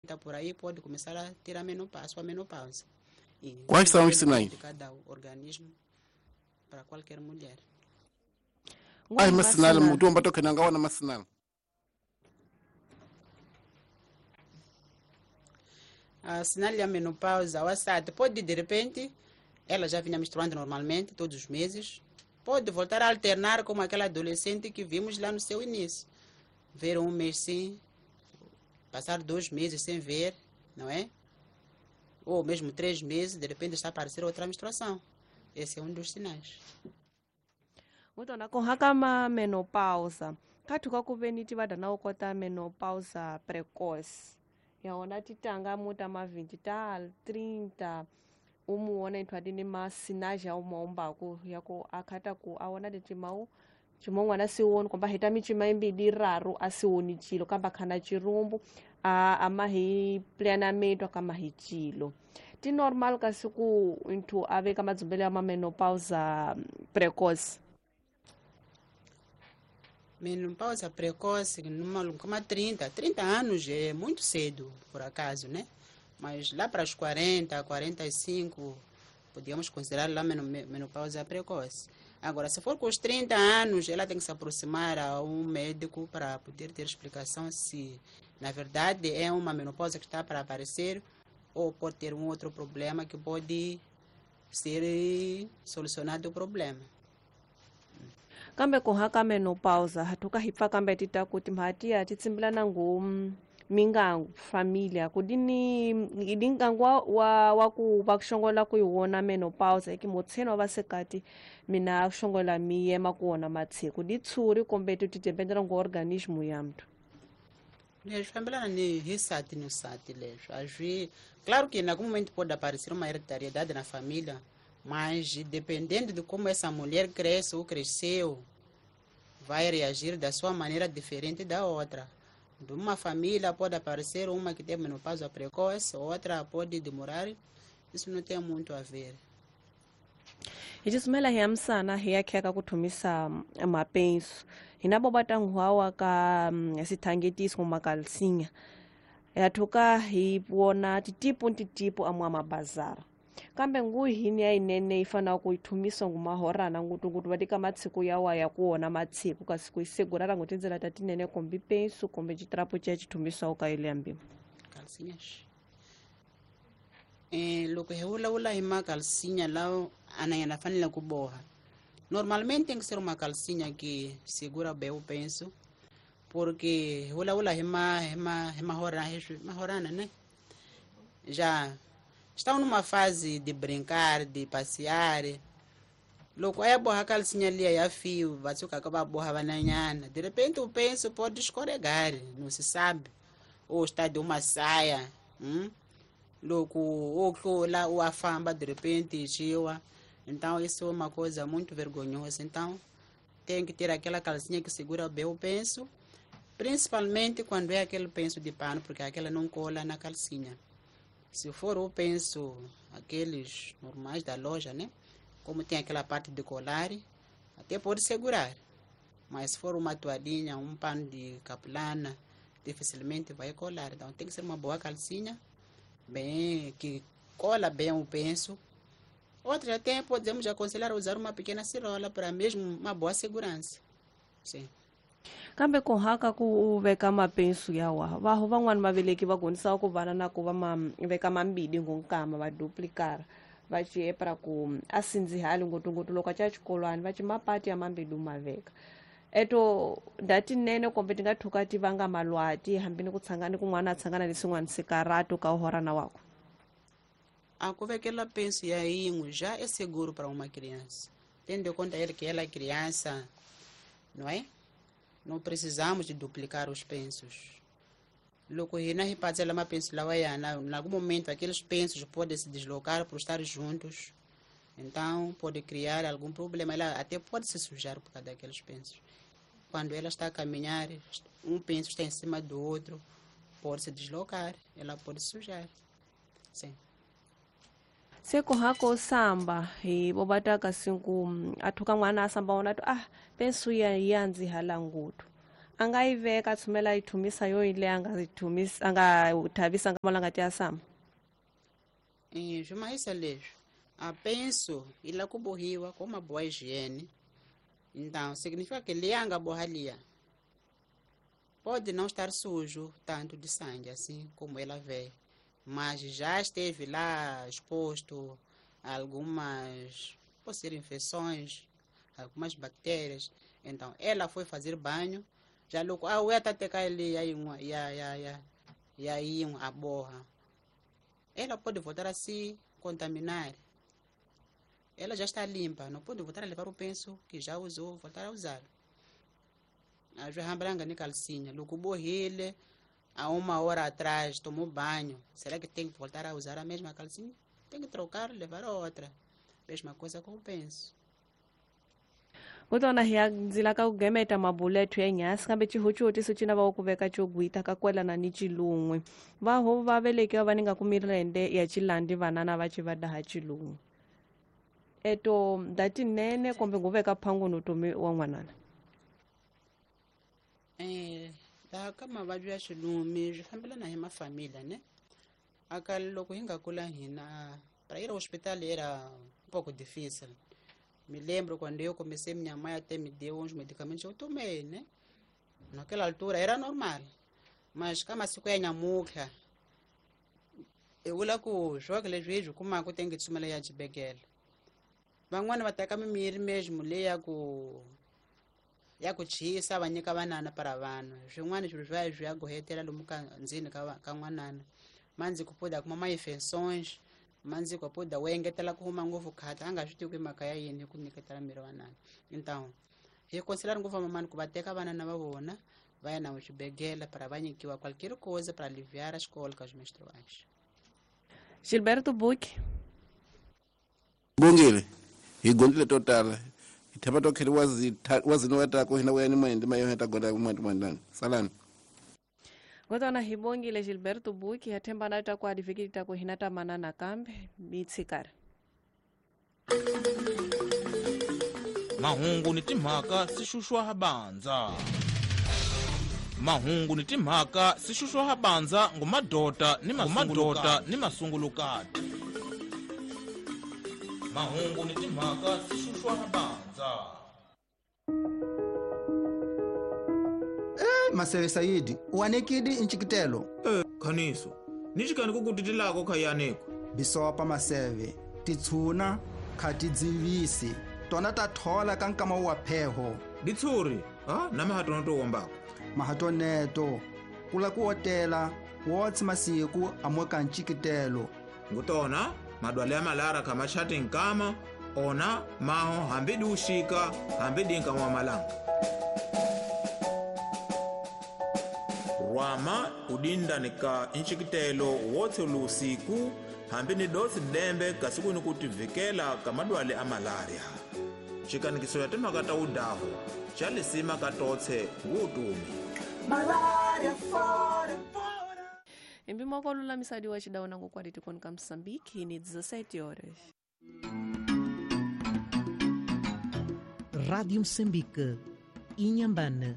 Por aí pode começar a ter a menopausa, a menopausa. E Quais são os sinais? De cada organismo para qualquer mulher. Ai masinal mutumba tokena ngawana masinal. A sinal da menopausa, o assado, pode de repente, ela já vinha menstruando normalmente, todos os meses, pode voltar a alternar como aquela adolescente que vimos lá no seu início. Ver um mês sim, passar 2 meses sem ver, não é? Ou mesmo 3 meses, de repente está a aparecer outra menstruação. Esse é um dos sinais. Mutona kuhaka menopausa. Katuka kuveniti vada ukota menopausa precoce. Yaona titanga muta ma 20 tal 30 umuona inthu adini masinaja umaombaku yako akhata ku aona titimau chimongwana siwoni kwamba hita michima imbili raru asiwoni chilo kamba khana chirumbu amahi pleanamento akamahi chilo ti normal kasi ku inthu aveka madzumbele ya menopausa precoce. Menopausa precoce numa como 30 anos é muito cedo, por acaso, né? Mas lá para os 40, 45, podíamos considerar lá menopausa precoce. Agora, se for com os 30 anos, ela tem que se aproximar a um médico para poder ter explicação se, na verdade, é uma menopausa que está para aparecer ou pode ter um outro problema que pode ser solucionado o problema. Kambe kuhaka menopausa hatuka hipfa kambe tita kuti mhatia titsimbilana ngu mingangu familia kudini idingangu wa ku vakushongola kuiwona menopausa ikimotseno vasekati mina akushongola miyema kuwona matshiku ditsuri kumbe tutitembendela ngu organismo ya mntu. Leswi fambelana ni hi sati ni sati leswi a swi claro que em algum momento pode aparecer uma hereditariedade na família, mas dependendo de como essa mulher cresce ou cresceu, vai reagir da sua maneira diferente da outra. De uma família pode aparecer uma que tem menopausa precoce, outra pode demorar. Isso não tem muito a ver. Icisumela hiyamsana hiyakheka kuthumisa mapenso hinabo batanguhawa ka sithangetiso makalsinya yathuka hi wona titipo ntitipo amwa mabazara kambe nguhini yayinene ifana kuyithumisa ngumahorana ngutungutu vatika matshiku yawa ya kuwona matshiku kasi kuisegurara ngutindzela tatinene kombi penso kombe citrapo cia cithumisa ukaile ambima Calcinhas. Loko hi vulavula hi makalsinya lawa ananyana fanele ku boha. Normalmente tem que ser uma calcinha que segura bem o penso, porque hi vulavula hi mahorana, né? Já estão numa fase de brincar, de passear. Loko a ya boha calcinha liya ya fio, va tshuka ka va boha vananyana. De repente o penso pode escorregar, não se sabe. Ou está de uma saia, Loko ou tlula ou a famba de repente xiwa. Então isso é uma coisa muito vergonhosa. Então tem que ter aquela calcinha que segura bem o penso, principalmente quando é aquele penso de pano, porque aquela não cola na calcinha. Se for o penso aqueles normais da loja, né? Como tem aquela parte de colar, até pode segurar. Mas se for uma toalhinha, um pano de capulana, dificilmente vai colar. Então tem que ser uma boa calcinha, bem, que cola bem o penso. Outra até podemos aconselhar a usar uma pequena cirola para mesmo uma boa segurança. Sim. Kambe kuhaka ku veka mapenso yawa vaho van'wani va veleki va gonisa ku vana na ku va ma veka mambili ngunkama va duplikara va ciepra ku a sindzihali ngopfungopfu loko a ca xikolwani va ci mapati ya mambili ma veka eto ndatinene kumbe ti nga thuka ti vanga malwati hambi ni ku tshangani kun'wana a tshangana ni swin'wana sikarato ka uhorana wakwe. A ku vekela penso ya yin'we já é seguro para uma criança, tendo em conta ele que ela é criança, não é? Não precisamos de duplicar os pensos. Loko hina hi patsela mapenso lawa yana, em algum momento aqueles pensos podem se deslocar por estar juntos. Então pode criar algum problema, ela até pode se sujar por causa daqueles pensos. Quando ela está a caminhar, um penso está em cima do outro, pode se deslocar, ela pode se sujar. Sim. Se kuhako samba hi bobataka sinku athuka n'wana a samba wona to penso ya yandzi hala ngutu A nga yi veka tshumela yi thumisa yo yi leyi a nga yi thumisa a nga thavisa nga malanga ti ya sama. Swi mahisa leswi a penso yi la ku bohiwa com uma boa higiene. Então significa que leyi a nga boha liya pode não estar sujo tanto de sangue assim como ela veio, mas já esteve lá exposto a algumas, pode ser infecções, algumas bactérias. Então ela foi fazer banho, já logo a ué tá teka ele aí uma ya ya ya ya aí a borra. Ela pode voltar a se contaminar. Ela já está limpa, não pode voltar a levar o penso que já usou, voltar a usar. A hambanga ni calcinha, logo borrele há uma hora atrás tomou banho. Será que tem que voltar a usar a mesma calcinha? Tem que trocar, levar outra. Mesma coisa com o penso. Kutona hi ndzila ka ku gemeta mabulethu ya nyasi kambe xihoxo cina va ku veka xo gwita ka kwelana ni xilun'we vaho va velekiwa va ninga ku mirende ya xilandi vanana va xi va daha xilun'we eto ndatinene kumbe ngu veka phangunu tomi wa n'wanana. Laha ka mavabyi ya xilumi swi fambelana hi mafamila ne aka loko hi nga kula hina para ir ao hospital era pouco difícil. Me lembro quando eu comecei, minha mãe até me deu uns medicamentos, eu tomei, né? Naquela altura era normal. Mas kama siku ya nyamuka, eu lá ku joga leswi kuma ku tem que tsumela ya xibedhlele. Van'wana va teka mimirhi mesmo leyi ya ku chisa va nyika vanana para vanhu. Swin'wana swilo swa swi ya gohetela lomu ka ndzeni ka n'wanana. Manzi ku poda kuma ma infections. Manzi ku poda wu engetela ku huma ngopfu khata a nga swi tivi ku mhaka ya yini ku nyiketela miri wanana. Então hi considerar ngopfu mamani ku va teka vanana va vona va ya na xibedhlele para va nyikiwa qualquer coisa para aliviar as cólicas menstruais. Gilberto Buque. Bongile hi gondile to tala hi themba to kheri wazini wa ta ku hina wena ni mayo ta gonda ku mwendani salani. Ngotona hi bongile Gilberto Buque ya themba na ta ku adifikiti ta ku hina ta manana kambe mitsikara. Mahungu ni timhaka si xuxwa ha bandza. Mahungu ni timhaka si xuxwa ha bandza ngumadota ni mamadota ni masungulukati. Mahungu ni timhaka si xuxwa ha bandza. Maseve Saidi, uanekidi inchikitelo. Khaniso, nixikani ku kutitilako khayaneko. Bisopa maseve, titshuna khatidzivisi, tona ta thola ka nkama wa pheho. Ditshuri, ha na mahatona to wombako. Mahatoneto, kula ku otela, wotsi masiku amoka nchikitelo. Ngutona, madwale ya malara kama chati nkama, ona maho hambidi ushika, hambidi nkama wa malanga. Rwama udinda nika inchikitelo wotse lusiku hambi ni dosi dembe kasiku ni kutivikela kamadwale a malaria. Xikanikiso ya timhaka ta udahu xa lisima ka totse ngutumi. Malaria fora fora. Embimo ko lulamisadi wa xidawu na ngokwadi tikoni ka Mozambique ni 17 horas. Rádio Moçambique, Inhambane.